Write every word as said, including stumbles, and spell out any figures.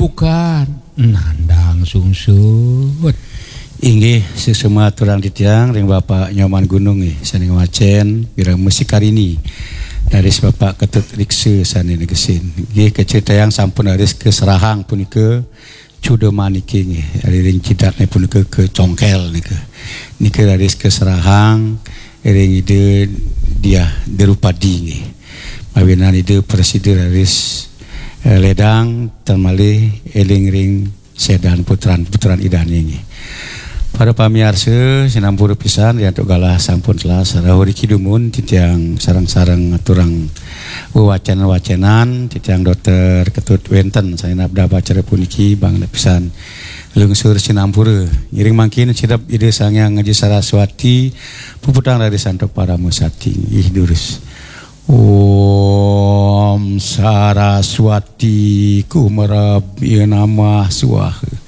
Bukan nandang sungsut. Inggih, sesama aturang titiang ring Bapak Nyoman Gunung nggih, sané ngwacén Wirama Sikarini raris Bapak Ketut Riksa sané negesin. Nggih, kacritayang sampun raris kaserahang punika Cudamaniké nggih, ring jidatné punika kacongkél nika. Nika raris kaserahang ring Ida Diah Drupadi nggih. Mawinan Ida prasida raris, eh, ledang tan malih éling ring sédan putran-putran Idané nggih. Para pamiarsa, sinampura pisan riantuk galah sampun telas. Rauh riki dumun titiang sareng-sareng ngaturang wewacén-wacénan, titiang Dokter Ketut wénten sané nabdab acara puniki, banget pisan lungsur sinampura. Ngiring mangkin sirep Ida Sang Hyang Aji Saraswati, puputang raris antuk parama sakti. Inggih durus. Om Saraswati Kumarabya Namah Swaha.